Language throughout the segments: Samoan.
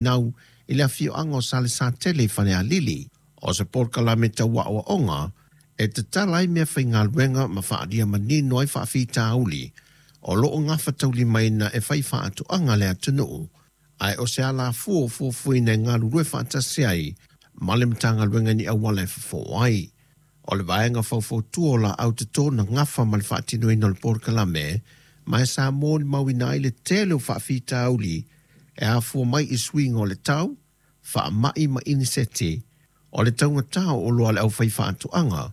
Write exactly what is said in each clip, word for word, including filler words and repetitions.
Nau i le afioaga o Salesatele i Falealili. O se polokalame tau aoaoga e tatala ai mea faigaluega ma faaalia manino ai faafitauli o loo gafataulimaina e fai faatoaga le atunuu, ae o se alafua o fuafuaina e galulue faatasi ai ma le Matagaluega ni auala e fofo ai. O le vaega faufautua o laau toto na gafa ma le faatinoina o le polokalame, ma e sa molimauina ai le tele o faafitauli e afua mai i suiga o le tau, faamai ma iniseti, o le taugatā o oloa a le aufai faatoaga,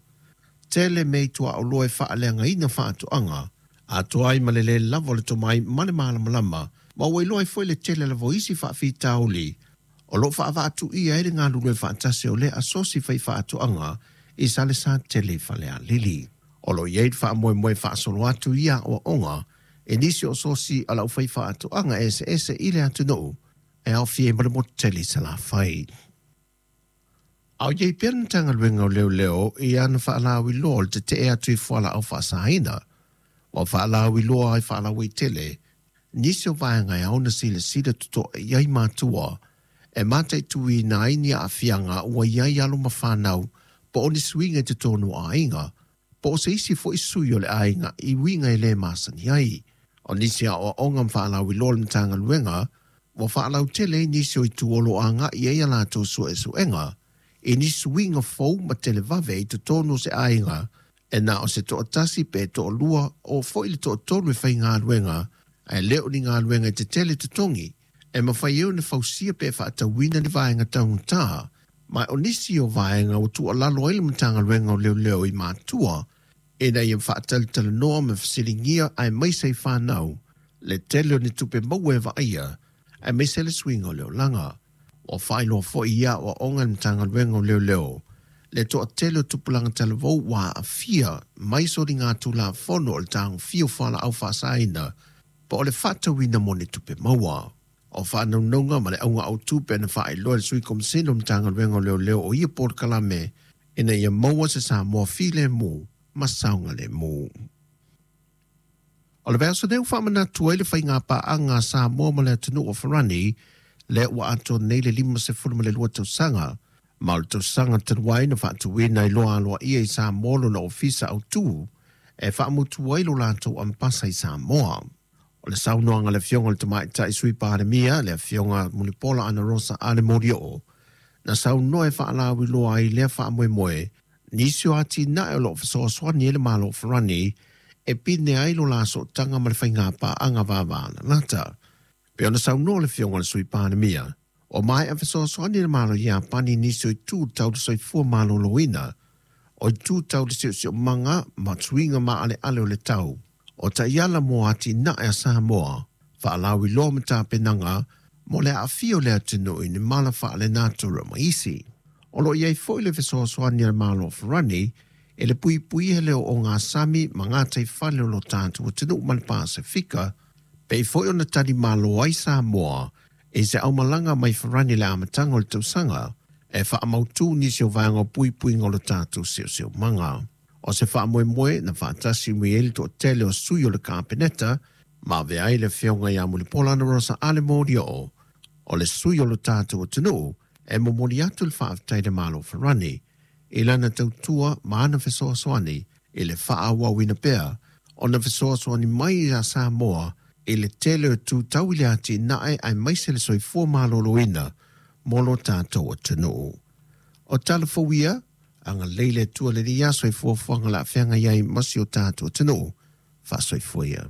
tele mea i tuaoloa e faaleagaina faatoaga, atoa ai ma le lē lava o le tomai ma le malamalama, ma ua iloa ai foi le tele lava o isi faafitauli o loo faavaatuia ai le galulue faatasi o lea asosi fai faatoaga i Salesatele i Falealili. O loo i ai le faamoemoe faasolo atu ia aoaoga e nisi o sosi a lau fai faatoaga eseese i le atunuu e aofia ai ma le motu tele i Salafai. A o iai pea le Matagaluega o Leoleo i ana faalauiloa o le tetee atu i fualaau faasaina, ua faalauiloa ai faalauaitele nisi o vaega e ao ona silasila totoa i ai matua e mataituina ai ni aafiaga ua i ai alo ma fanau, po o ni suiga i totonu o aiga, po o se isi foi sui o le aiga i uiga e lē masani ai. O nisi aoaoga ma faalauiloa le Matagaluega ua faalautele ai nisi o itu o loo agai ai a latou suesuega i nisi suiga fou ma televave i totonu o se aiga e na o se toatasi pe toalua o foi le toatolu e faigaluega, ae le o ni galuega e tetele totogi e mafai ai ona fausia pe faatauina ni vaega taugata. Ma o nisi o vaega ua tuualalo ai le Matagaluega o Leoleo i matua ina ia faatalatalanoa ma fesiligia aemaise i fanau le tele o ni tupe maua e vaaia aemaise le suiga o le olaga. Ua faailoa foi ia aoaoga e le Matagaluega o Leoleo le toatele o tupulaga talavou ua aafia mai soligatulafono o le tagofia o fualaau faasaina po o le faatauina mo ni tupe maua. O faanaunauga ma le auga autu pe na faailoa e le Sui Komisina o Matagaluega o Leoleo o ia polokalame ina ia maua se Samoa filemu ma saogalemu. O le vaiaso nei ua faamanatu ai le faigapaaga a Samoa ma le atunuu o Farani, lea ua atoa nei le limasefulu ma le lua tausaga, ma o le tausaga talu ai na faatuina ai loa aloaia i Samoa lona ofisa autu e faamutu ai lo latou ambasa i Samoa. O le saunoaga a le Afioga o le Tamaitai Sui Palemia, le Afioga Mulipola Anarosa Ale Molioo, na saunoa e faalauiloa ai lea faamoemoe, nisi o atinae o loo fesoasoani ai le Malo o Farani e pine ai lo la sootaga ma le faigapaaga vavalalata. Pe ona saunoa le Afioga o le Sui Palemia, o maea fesoasoani le Malo Iapani i nisi o itu tau le soifua maloloina, o itu tau le siosiomaga ma suiga maaleale o le tau, o taiala mo atinae a Samoa, faalauiloa ma tapenaga mo le aafia o le atunuu i ni mala faalenatura ma isi. O loo i ai foi le fesoasoani a le Malo o Farani e le puipuia le ogasami ma gataifale o lo tatou atunuu ma le Pasefika, pei foi ona talimalo ai Samoa i se aumalaga mai Farani i le amataga o le tausaga e faamautū nisi o vaega o puipuiga o lo tatou siosiomaga. O se faamoemoe na faatasi mai ai le toatele o sui o le Kapeneta ma avea ai le Afioga ia Mulipola Anarosa Ale Molioo o le sui o lo tatou atunuu e momoli atu le faafetai i le Malo o Farani i lana tautua ma ana fesoasoani i le faaauauina pea ona fesoasoani mai ia Samoa i le tele o itu tau i le atinae aemaise le soifua maloloina mo lo tatou atunuu. O tala fou ia, agalelei le Atua i lenei aso i fuafuaga o le a feagai ai ma si o tatou atunuu. Faasoifua ia.